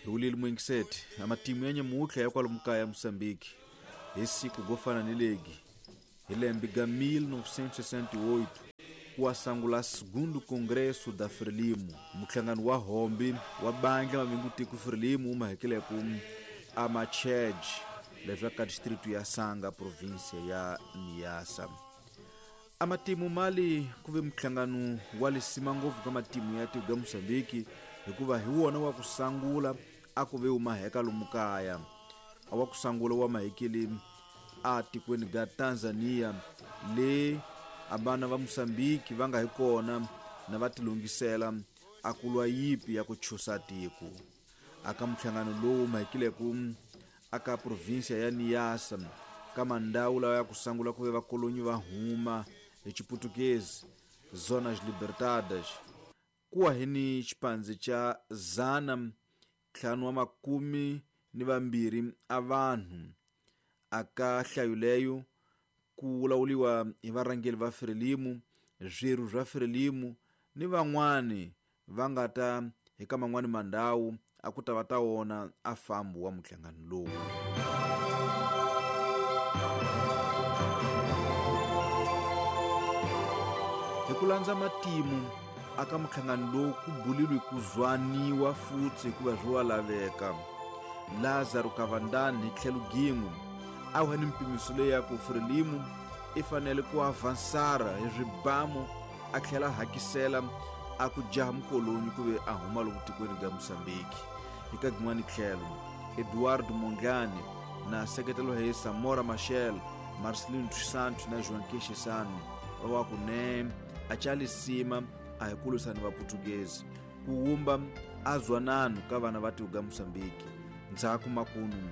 Hi wulile muingiseti a matimu ya nyamutlha ya kwalomu kaya Mosambiki hi siku go fana ni legi hi lembe ga 1968 ku sangula segundo Congresso da Frelimo, muhlangano wa hombi wa bandla mavingu tiko Frelimo mahekeleku a Machej leswa ka distrito ya Sanga província ya Niassa. A matimu mali ku ve muhlangano wa lisima ngopfu ka matimu ya tiko ya Mosambiki hikuva hi wona wa ku sangula a ku ve umaheka lomu kaya a wa ku sangula wa mahekeli a tikweni ga Tanzania le a vana va Mosambiki va nga hi kona na va tilungisela a ku lwa yipi ya ku chusa tiko. Aka muhlangano lowu mahekileko aka província ya Niassa ka mandhawu lawa ya ku sangula ku ve vakolonyi va huma hi Chiputukezi Zonas Libertadas kuwa hi ni xipandzi xa 512 a vanhu aka hlayo leyo ku lawuliwa hi varhangeri va Frelimo, swirho swa Frelimo ni van'wani va nga ta hi ka man'wani mandhawu a ku ta va ta wona a fambo wa muhlangano lowu. Hi ku landza matimu aka muhlangano lowu ku bulilwe ku zwaniwa futsi hikuva swi wa laveka. Lazaro Kavandani hi tlhelo gin'we a wu ni mpimiso leyi ya ku Frelimo i fanele ku avansara hi swibamu a tlhela hakisela a ku jaha mukolonyi ku ve a huma lomu tikweni ga Mosambiki. Hi ka gin'wani tlhelo Eduardo Mondlane na seketelo hi Samora Machel, Marcelino dos Santos na Joaquim Chissano va wa ku ne a cha lisima a hi kulusani va Portuguese ku wumba a zwanano ka vana va tiko ga Mosambiki. Ndzhaku makunu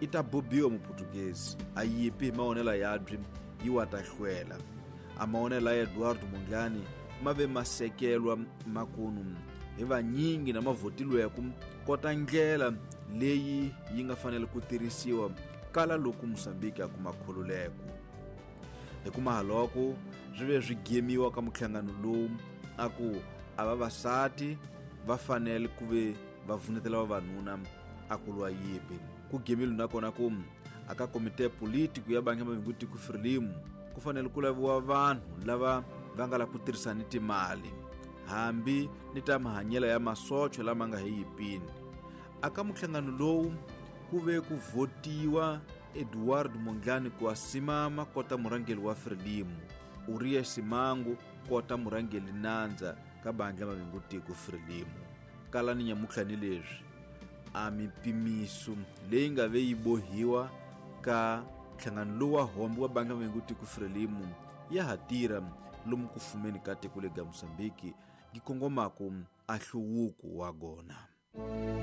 i ta bobiwa muportuguese a yipi hi maonela yabyi yi wa ta hlwela. A maonela ya Eduardo Mondlane ma ve masekelwa makunu hi vanyingi na mavotilweko kota ndlela leyi yi nga fanele ku tirhisiwa kala loko Mosambiki a kuma khululeko. Hi kuma haloko swi ve swi gemiwa ka muhlangano lowu a ku a vavasati va fanele ku ve va vunetela vavanuna a ku lwa yipi. Ku gemile nakona ku aka komite politiko ya bangi ya mavingu tiko Frelimo ku fanele ku laviwa vanhu lava va nga la ku tirhisa ni timali hambi ni ta mahanyelo ya masocho lama nga hi yipini. Aka muhlangano lowu ku ve ku votiwa Eduardo Mondlane ku asimama kota murhangeri wa Frelimo, Uria Simango kota murhangeri nandza ka bandla mavingu tiko Frelimo. Kala ni nyamutlha ni leswi a mipimiso leyi nga ve yi bohiwa ka nhlangano lowu wa hombi wa bandla mavingu tiko Frelimo ya ha tirha lomu ku fumeni ka tiko le ga Mosambiki yi kongomaku a hluvuko wa gona.